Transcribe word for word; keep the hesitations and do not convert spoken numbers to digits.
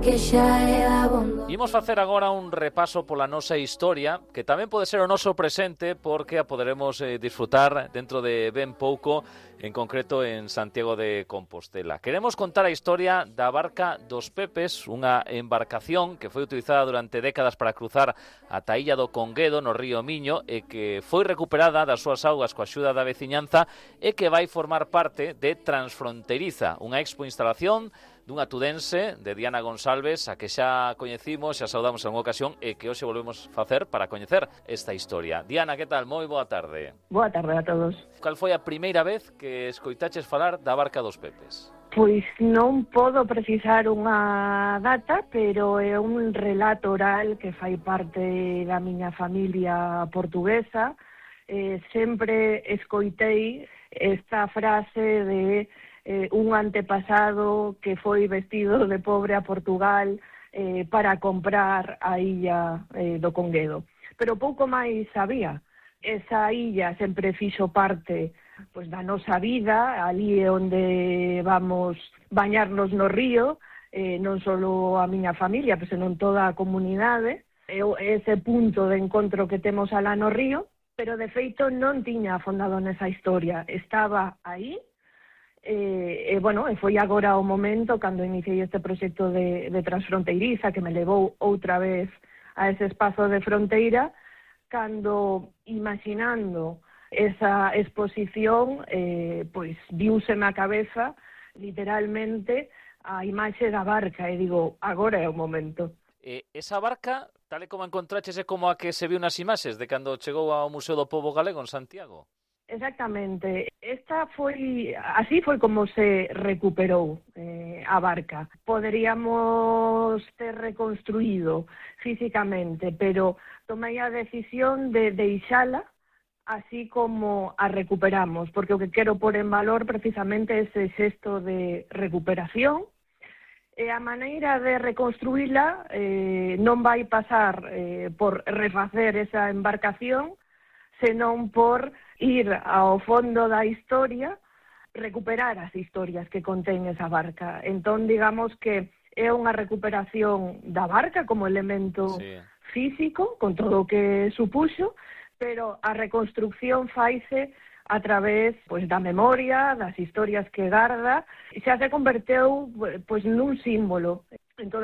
que xa é abondo. Imos facer agora un repaso pola nosa historia, que tamén pode ser o noso presente, porque a poderemos eh, disfrutar dentro de ben pouco, en concreto en Santiago de Compostela. Queremos contar a historia da barca dos Pepes, unha embarcación que foi utilizada durante décadas para cruzar ata a illa do Conguedo, no río Miño, e que foi recuperada das súas augas coa axuda da veciñanza e que vai formar parte de Transfronteriza, unha expo instalación dunha tudense, de Diana Gonsalves, a que xa coñecimos, xa saudamos en unha ocasión e que hoxe volvemos facer para coñecer esta historia. Diana, que tal? Moi boa tarde. Boa tarde a todos. Cal foi a primeira vez que escoitaches falar da barca dos Pepes? Pois non podo precisar unha data, pero é un relato oral que fai parte da miña familia portuguesa. Eh, sempre escoitei esta frase de eh, un antepasado que foi vestido de pobre a Portugal eh, para comprar a illa eh, do Conguedo. Pero pouco máis sabía. Esa illa sempre fixo parte pois, da nosa vida, ali é onde vamos bañarnos no río, eh, non só a miña familia, pois, senón toda a comunidade, é ese punto de encontro que temos alá no río, pero de feito non tiña afondado nesa historia, estaba aí. E, e, bueno, e foi agora o momento cando iniciei este proxecto de, de Transfronteiriza que me levou outra vez a ese espazo de fronteira, cando imaginando esa exposición eh, pois viúseme a cabeza literalmente a imaxe da barca e digo, agora é o momento. E esa barca, tal e como encontraches, é como a que se viu nas imaxes de cando chegou ao Museo do Pobo Galego en Santiago? Exactamente. Esta foi, así foi como se recuperou eh, a barca. Poderíamos ter reconstruído físicamente, pero tomei a decisión de deixala así como a recuperamos, porque o que quero pôr en valor precisamente é ese xesto de recuperación. E a maneira de reconstruíla eh, non vai pasar eh, por refacer esa embarcación, senón por ir ao fondo da historia, recuperar as historias que contén esa barca. Entón, digamos que é unha recuperación da barca como elemento sí. físico, con todo o que supuxo, pero a reconstrucción faise a través pois, da memoria, das historias que garda, e xa se converteu pois, nun símbolo. Entón,